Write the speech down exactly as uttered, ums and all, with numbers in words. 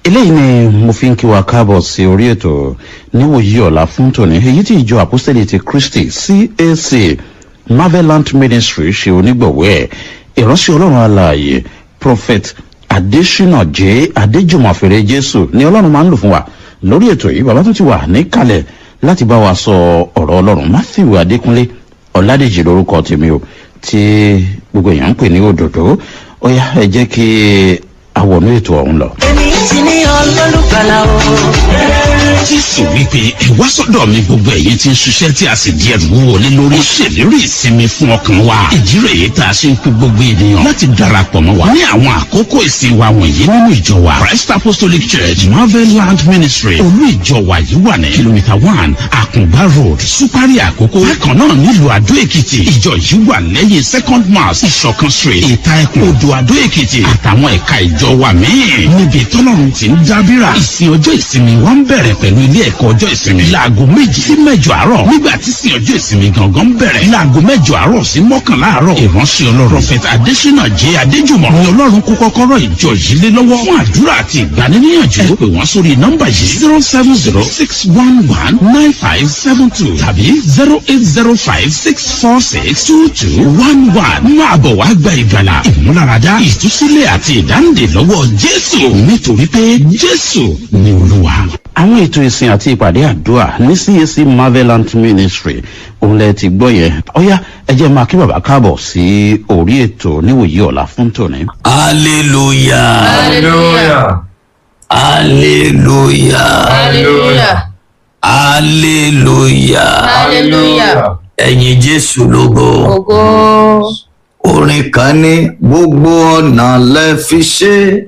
Eléyìí ni mo fi ń kí wa káàbọ̀ sí orí ètò níwòyí ọ̀la fún tòní, èyí tí ìjọ Àpọ́sítélì ti Kristi C A C Marvelant Ministry ṣe onígbọ̀wọ́ ẹ̀. Ìránṣẹ́ Ọlọ́run alààyè Prophet Adesina J Adéjùmọ̀fẹ̀rẹ̀ Jésù ni Ọlọ́run máa ń lò fún wa lórí ètò yìí. Bàbá tó ti wà níkàlẹ̀ láti bá wa sọ ọ̀rọ̀ Ọlọ́run. Matthew Adékúnlé Ọ̀làdèjì lórúkọ tèmi o, tí gbogbo èèyàn ń pè ní Òdòdó. Ó yá, ẹ jẹ́ kí àwọnú ètò ọ̀hún lọ. Èmi ti ní olólùgbàlà o. Jésù wípé, "Ẹ wá sọ́dọ̀ mi, gbogbo ẹ̀yin tí ń ṣiṣẹ́ tí a sì di ẹrù wúwo lé lórí." Ó ṣèlérí ìsinmi fún ọkàn wa. Ìdí rèé tá a ṣe ń pe gbogbo ènìyàn láti darapọ̀ mọ́ wa ní àwọn àkókò ìsìn wa wọ̀nyí nínú ìjọ wa, Christ Apostolic Church Marvel Land Ministry. Olú ìjọ wa yìí wà ní kìlómítà one, Àkùngbá Road, Supari Àkókò. Bákan náà, nílùú Àdó Èkìtì, ìjọ yìí wà lẹ́yìn Second Mass, Ìṣọ̀kan Street, Ìta Ẹkùn, Odò Àdó Èkìtì, àtàwọn ẹ̀ka ìjọ wa míì níbi tọ́lọ́run ti ń dábìrà. Ìsìn ọjọ́ ìsinmi wa ń bẹ̀rẹ̀ pẹ̀lú ilé ẹ̀kọ́ ọjọ́ ìsinmi láago méjì sí mẹ́jọ àárọ̀, nígbà tí sìn ọjọ́ ìsinmi gangan bẹ̀rẹ̀ láago mẹ́jọ àárọ̀ sí mọ́kànlá àárọ̀. Ìránṣẹ́ Ọlọ́run Prophet Adesina J Adéjùmọ̀ ni Ọlọ́run kó kọ́kọ́rọ́ ìjọ yìí lé lọ́wọ́. Fún àdúrà àti ìgbaniníyànjú, ẹ pè wọ́n sórí nọ́mbà yìí: zero seven zero six one one nine five seven two tàbí zero eight zero five six four six two two one one. Máa bọ̀ wá gba ìgbàlà, ìmúláradá, ìtúsílẹ̀ àti ìdáǹdè lọ́wọ́ Jésù, nítorí pé Jésù ni Olúwa. Àwọn ètò ìsìn àti ìpàdé àdúrà ní C A C Marvelant Ministry, òun lẹ ti gbọ́ yẹn. Ọ̀yá, ẹ jẹ́ máa kí bàbá káàbọ̀ sí orí ètò níwòyí ọ̀la fún tòní. Hallelujah. Hallelujah. Hallelujah. Hallelujah. Hallelujah. Hallelujah. Ẹ̀yin Jésù lógo. Ògo. Orin kan ní, "Gbogbo ọ̀nà lẹ fi ṣe